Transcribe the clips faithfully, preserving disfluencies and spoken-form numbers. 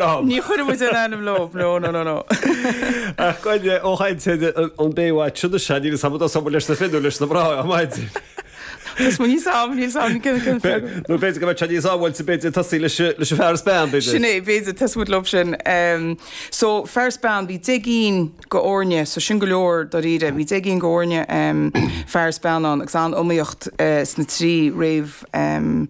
Ní chuir muid an ainm leo no no no no. Ach goine ó chaint an Baywatch sin se ní sam sam leis na fir leis na mná maidin. Ní sam ní sam Nó b'fhéidir go mbeidh níos sábháilte b'fhéidir tosú leis leis fear is bean b'fhéidir. Sin é b'fhéidir tosóidh muid leo sin. So fear is bean bhí deich gcinn d'fhoirne, so sin go leor dáiríre, bhí deich gcinn d'fhoirne fear is bean ann agus an-iomaíocht sna trí réamh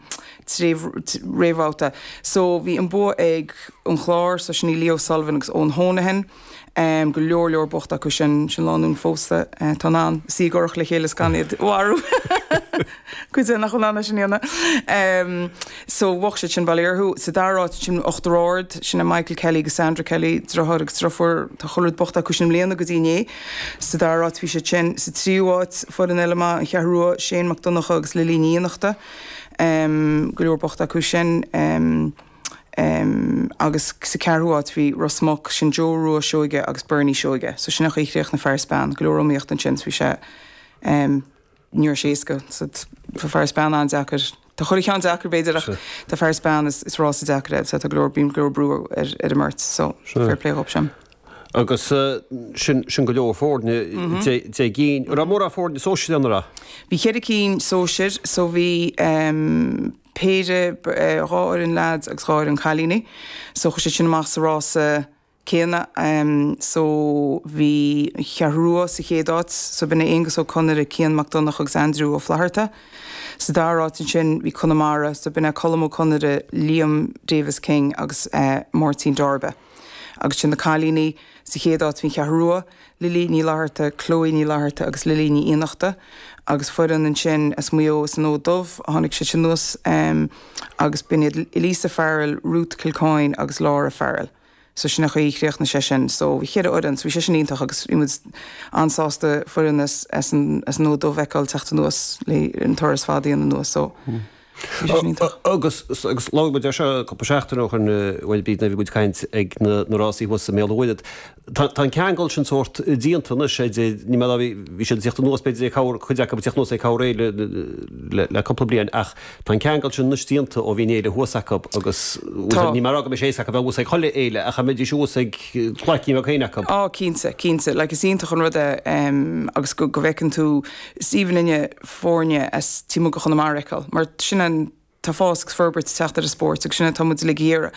trí réamhbhabhta. So bhí an bua ag an Chlár, so sin í Leo Sullivan agus Eoin Honohan. Um, go leor leor bocht acu sin sin lánúin phósta uh, tá an sí gorach le chéile gan iad mharú. Cuid nach an sin dhéanamh. Um, so bhuaigh siad sin bail orthu sa dara háit sin Uachtar Ard sin Michael Kelly agus Sandra Kelly deartháir agus deirfiúr tá chuile rud buachta acu sin i mbliana go dtí inné. Sa dara háit bhí siad sin sa tríú háit foireann eile maith an Cheathrú Rua Shane Mac Donncha agus Lily Ní Fhiannachta. Um, go leor buachta acu sin. Um, Um, agus sa ceathrú háit bhí Ros Muc sin Joe Rua Seoige agus Bernie Seoige, so sin chaoi chríoch na fear is bean, go leor iomaíocht ansin bhí sé um, ní sé éasca so fear is bean an-deacair. Tá chuile cheann deacair b'fhéidir ach tá fear is bean is, is rása deacair é, so tá go leor bíonn go leor brú ar, ar an mbeirt, so fair play dhóibh sin. Agus uh, sin sin go leor foirne deich gcinn ra mór a foirne sóisir an ra. Bhí ceithre cinn sóisir, so bhí um, péire dhá fhoireann lads agus dhá fhoireann cailíní. So chuaigh siad sin amach sa rása céanna um, so bhí Ceathrú Rua sa chéad áit, so b'in é Aonghus Ó Conaire, Cian Mac Donncha agus Andrew Ó Flatharta. Sa dara háit ansin bhí Conamara, so b'in é Colm Ó Conaire, Liam Davis King agus uh, Máirtín Darbe. Agus sin na cailíní sa chéad áit bhí Ceathrú Rua, Lily Ní Fhlatharta, Chloe Ní Fhlatharta agus Lily Ní Fhiannachta, agus foireann ansin as Maigh Eo san Fhód Dubh a tháinig siad sin anuas um, agus b'in iad Elisa Farrell, Ruth Kilcoyne agus Laura Farrell. So sin a chaoi chríochnaigh sé sin, so bhí ceithre fhoireann, so bhí sé sin iontach agus bhí muid an-sásta foireann as, as an, as an Fhód Dubh a fheiceáil teacht anuas le an turas fada a dhéanamh anuas, so bhí sé sin iontach. Agus agus labhair muid ar seo cúpla seachtain ó shin bhuel bhí bhí muid ag caint ag na na rásaí thuas i mBéal Mhuirthead. Tá tá an ceangal sin sórt déanta anois sé ní mé bhí bhí siad teacht anuas b'fhéidir ag cabhair cuid acu teacht anuas ag cabhair le le le cúpla bliain ach tá an ceangal sin anois déanta ó bhí an fhéile thuas acu agus Tá. ní mar go sé acu bheith thuas ag chuile fhéile ach a mbeidís thuas ag cláicín bheag féin acu. Á cinnte, cinnte, like is iontach an rud é um, agus go, go bhfeiceann tú Stephen inne foirne as timpeall go Chonamara a fheiceáil, mar sin an tá fás agus forbairt teacht ar an spórt agus sin atá muid ag iarraidh.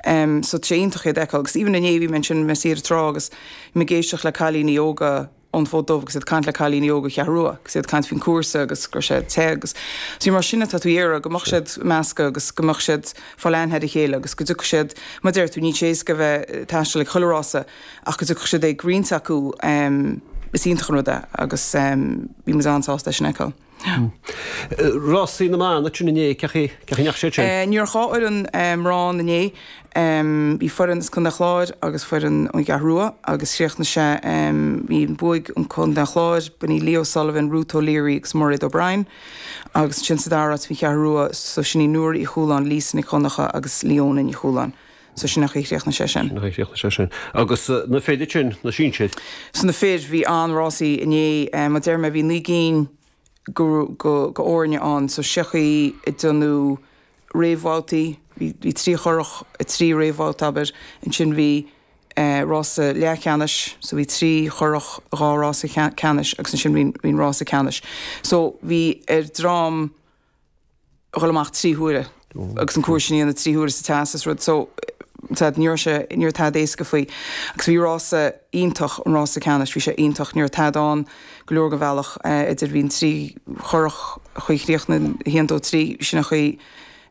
Um, so tá sé iontach iad a fheiceáil, agus even inné bhí mé sin mé ar an trá agus mé ag éisteacht le cailíní óga ón Fód Dubh agus iad caint le cailíní óga Cheathrú Rua, agus iad caint faoin cúrsa agus gur sé te agus so mar sin atá tú iarraidh go mbeadh siad measctha agus go mbeadh siad fáil aithne ar a chéile agus go dtiocfadh siad mar deir tú ní sé éasca bheith taisteal ag chuile rása ach go dtiocfadh siad ag roinnt acu um, is iontach an rud é agus um, bhí muid an-sásta sin a fheiceáil. Rásaí na mban sin inné cé cé nach sé sin. Uh, Ní raibh dhá fhoireann mná inné um, bhí foireann as Contae an Chláir agus foireann ón Cheathrú Rua agus chríochnaigh sé um, bhí buaigh an Contae an Chláir, b'in í Leo Sullivan, Ruth O'Leary agus Mairéad O'Brien agus sin sa dara háit bhí Ceathrú Rua so sin í Nuair Uí Chualáin, Lisa Ní Chonnacha agus Leona Ní Chualáin. So sin a chríochnaigh sé sin. Na sé sin. Agus uh, na fir sin na sinsir. So na fir bhí an-rásaí inné um, mar deir mé bhí naoi gcinn go, go, go fhoirne ann, so sechaí i dtúnú réamhbhabhtaí, bhí bhí trí churach trí réamhbhabhta abair, ansin bhí uh, rása leathcheannais, so bhí trí churach dhá rása ceannais agus ansin bhí bhí rása ceannais. So bhí ar dream dhul amach trí huaire agus an cúrsa sin na trí huaire sa teastas rud so tá ní sé ní tá éasca faoi agus bhí rása iontach an rása ceannais bhí sé iontach ní tá an go leor go bhealach idir bhíon trí churach chuí chríochna haon dó trí sin a chuí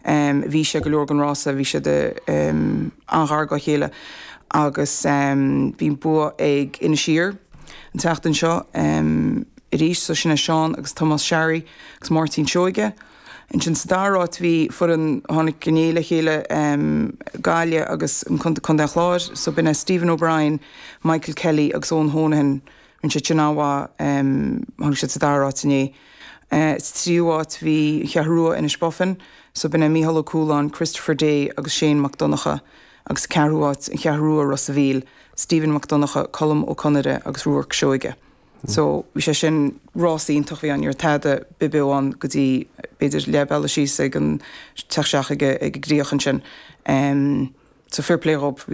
um, bhí sé go leor an rása bhí sé de um, an-ghar dá chéile agus um, bhí bua ag Inis Oírr an tseachtain seo um, arís so sin é Seán agus Thomas Sherry agus Máirtín Seoige. Ansin sa dara háit bhí foireann tháinig inné le chéile um, Gaillimh agus an Contae Chláir, so b'in é Stephen O'Brien, Michael Kelly agus Eoin Honohan rinne siad sin an-mhaith um, tháinig siad sa dara háit inné. Uh, sa tríú háit bhí Ceathrú Rua Inis Buffin, so b'in é Micheál Ó Cualáin, Christopher Day agus Shane Mac Donncha agus ceathrú háit an Cheathrú Rua Ros an Mhíl, Stephen Mac Donncha, Colm Ó Conaire agus Ruairc Seoige. So bhí sé sin rás iontach bhí an ar tada bibeo an go dtí b'fhéidir leath bealaigh síos ag an teach ag ag gríoch ansin. Um, So fair play dhób.